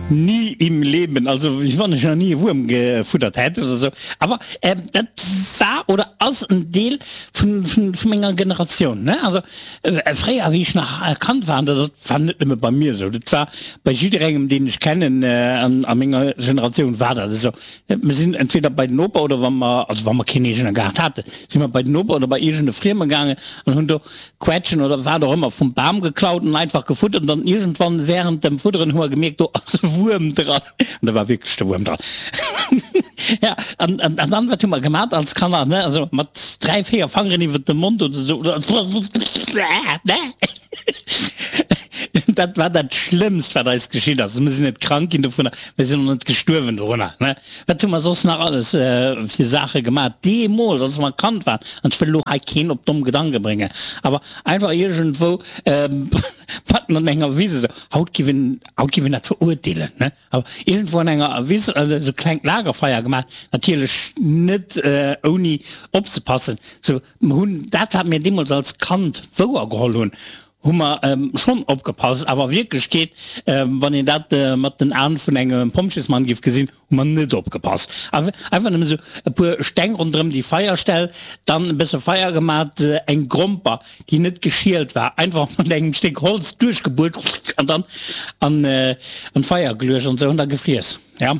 Nie im Leben, also wéi wann ech nach ni e Wuerm gefuddert hätt oder sou. Awer dat war oder ass en Deel vun menger Generatioun, ne. Also fréier, wéi ech nach Kand war, an dat war net nëmme bei mir esou, dat war bei jidderengem, deen ech kennen a menger Generatioun war dat esou, Mir sinn entweder bei den Noper oder wa mer, also wa mer keen eegene Gaart haten, si mer bei den Noper oder bei iergend e Frieme gaangen an hunn do Quetschen oder wat och ëmmer vum Bam geklaut an einfach gefuttert. An dann iergendwann während dem Fudderen hu mer gemierkt, do ass e Wuerm dran. An da war wierklech de Wuerm dran. Ja, an, an, an dann, wat hu mer gemat als Kanner, ne? Also mat 3, 4 Fangeren iwwer dem Mond oder sou. Dat war dat Schlëmmst, wat eis geschitt ass. Mir sinn net krank ginn dovunner, mir sinn och net gestuerwen dorunner. Ne? Wat hu mer soss nach alles fir Saache gemaach deemools, als mer Kand waren? An ech wëll elo hei keen op domm Gedanke bréngen, awer einfach iergendwou matten an enger Wiss esou, haut giff een, haut giff een dat verurteelen, ne? Awer iergendwou an enger Wiss esou klengt Lagerfeier gemaach, natierlech net ouni opzepassen, sou. Mer hunn dat, wat mir deemools als Kand wouergeholl hunn, hu mer schonn opgepasst. Awer a Wierklechkeet, wann een dat mat den Aen vun engem Pompjeesmann géif gesinn, hu mer net opgepasst. Einfach nëmmen esou e puer Steng ronderëm déi Feierstell, dann e bësse Feier gemat, eng Gromper, déi net geschielt war, einfach mat engem Stéck Holz duerchgebuert an dann an d'Feier geluecht an esou an da gefriess. Ja.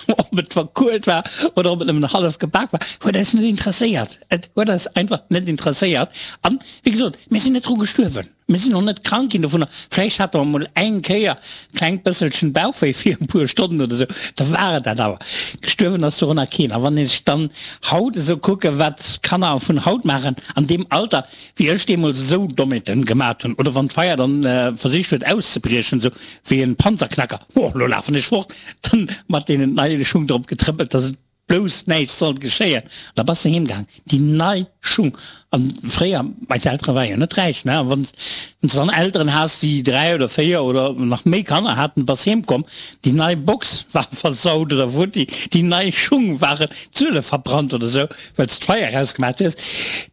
Ob et verkuelt war oder ob et nëmmen hallef gebak war, huet eis net interesséiert. Et huet eis einfach net interesséiert. An, wéi gesot, mir sinn net dru gestuerwen. Mir sinn och net krank ginn dovunner. Vläicht hate mer emol eng Kéier e klengt bësselchen Bauchwéi fir e puer Stonnen oder esou, da war et dat awer. Gestuerwen ass dorunner keen. A wann ech dann haut esou kucken, wat d'Kanner vun haut maachen, an deem Alter, wéi ech deemools esou Dommheeten gemat hunn, oder wann d'Feier dann versicht huet auszebriechen, esou wéi en Panzerknacker, oh, lo lafen ech fort, dann mat deenen neie Schung drop getrëppelt, dass et blouss näischt sollt geschéien. An da bass de heem gaang, déi nei Schung. An fréier, eis Eltere ware jo net räich, ne, a wann s de dann Elteren has, déi 3 oder 4 oder nach méi Kanner haten, bass heem komm, déi nei Box war versaut oder futti, déi nei Schung waren d'Suele verbrannt oder sou, well s d'Feier ausgemaat hues.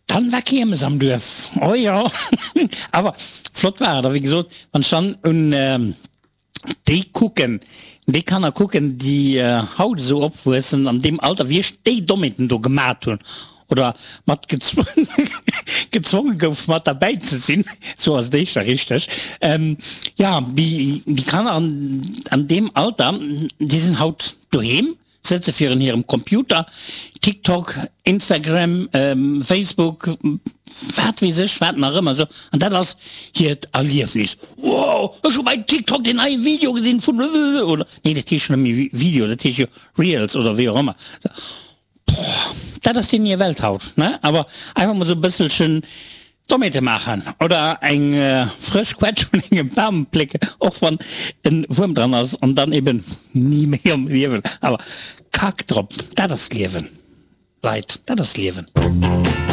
Dann war Kiermes am Duerf, oh jo, awer flott war et. A wéi gesot, wann ech dann un déi kucken, déi Kanner kucken, déi haut esou opwuessen, an deem Alter wéi ech déi Dommheeten do gemat hunn oder mat gezwonge gouf mat derbäi ze sinn, sou ass et éischter richteg, jo, déi Kanner an deem Alter, déi sinn haut doheem, Sëtze virun hirem Computer, TikTok, Instagram, Facebook, wat weess ech wat nach ëmmer esou, an dat ass hiert Erliefnis. Wow, ech hu bei TikTok deen neie Video gesinn vun oder nee, dat heescht jo net méi Video, dat heescht jo Reels oder wéi och ëmmer. Boah, dat ass deenen hir Welt haut, ne? Awer einfach mol esou e bësselchen Dommheete maachen oder eng frësch Quetsch vun engem Bam plécken, och wann en Wuerm dran ass, an dann eben ni méi am Liewen. Awer kack drop, dat ass d'Liewen, Leit, dat ass d'Liewen.